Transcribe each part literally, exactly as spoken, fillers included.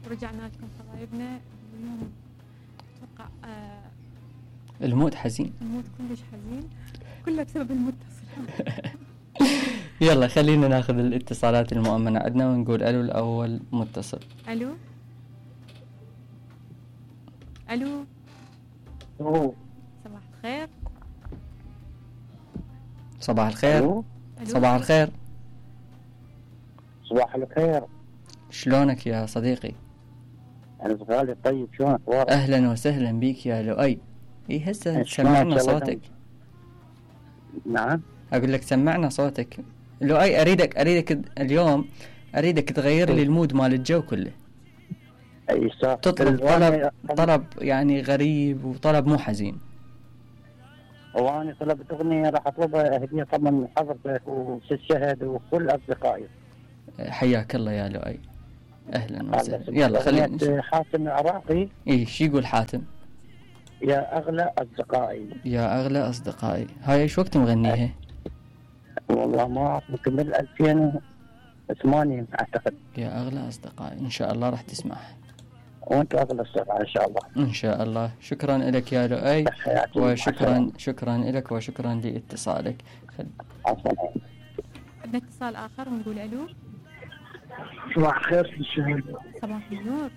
ورجعنا لكم حبايبنا. اليوم اتوقع آه المود حزين، المود كلش حزين، كله بسبب المتصل. يلا خلينا ناخذ الاتصالات المؤمنة عندنا ونقول الو الاول متصل. الو الو أوه. صباح الخير. صباح الخير. ألو. صباح الخير. صباح الخير. شلونك يا صديقي؟ أنا غالي طيب، شلونك أخبارك؟ أهلا وسهلا بيك يا لؤي. إيه هسه شلونك سمعنا يا صوتك. نعم. أقول لك سمعنا صوتك لؤي. أريدك أريدك اليوم أريدك تغير لي المود مال الجو كله. أي صح. تطلب طلب طلب يعني غريب وطلب مو حزين. وأنا طلبت أغنية راح أطلبها هدية طبعا من حضرتك وست شهد وكل أصدقائي. حياك الله يا لؤي، أهلا وسهلا. يلا خلينا. حاتم العراقي. إيه شو يقول حاتم؟ يا أغلى أصدقائي. يا أغلى أصدقائي. هاي إيش وقت مغنيها؟ والله ما أعرف، يمكن من ألفين وثمانية أعتقد. يا أغلى أصدقائي، إن شاء الله راح تسمعها. وأنت أغلى أصدقائي إن شاء الله. إن شاء الله. شكرا لك يا لؤي، وشكرا شكرا لك وشكرا لاتصالك. عفوا. عندنا اتصال آخر ونقول ألو. صباح الخير في الشهر. صباح النور.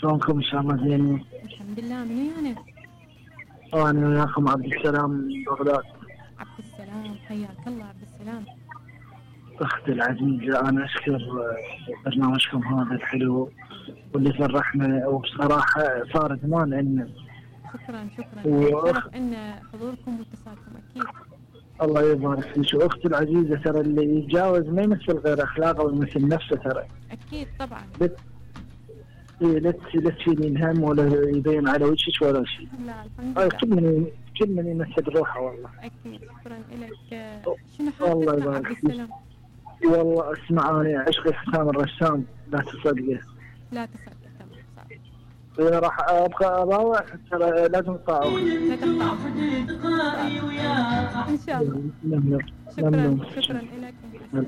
شلونكم إن شاء الله زينين؟ الحمد لله. منو يعني؟ أنا وياكم عبد السلام من بغداد. عبد السلام، حياك الله عبد السلام. أختي العزيزة، أنا أشكر برنامجكم هذا الحلو واللي فرحنا، وبصراحة صار زمان عندنا. شكرا شكرا. شرف إن حضوركم واتصالكم أكيد. الله يبارك فيك. واختي العزيزة، ترى اللي يتجاوز ما يمثل غير أخلاقه ويمثل نفسه ترى. أكيد طبعا. بت... إيه لا لا تشيلين هم ولا يبين على وجهك ولا شيء. لا الحمد لله. كل من كل من يمثل روحه والله. أكيد. شكرا لك. شنو حالك عبد السلام؟ والله اسمع، أنا عشقي حسام الرسام، لا تصدقه. لا تصدق. تمام صح. إذا راح أبقى أراوح ترى لازم تطاوع. لا تقطع. إن شاء الله. نمنم. شكرا شكرا لك. السلام.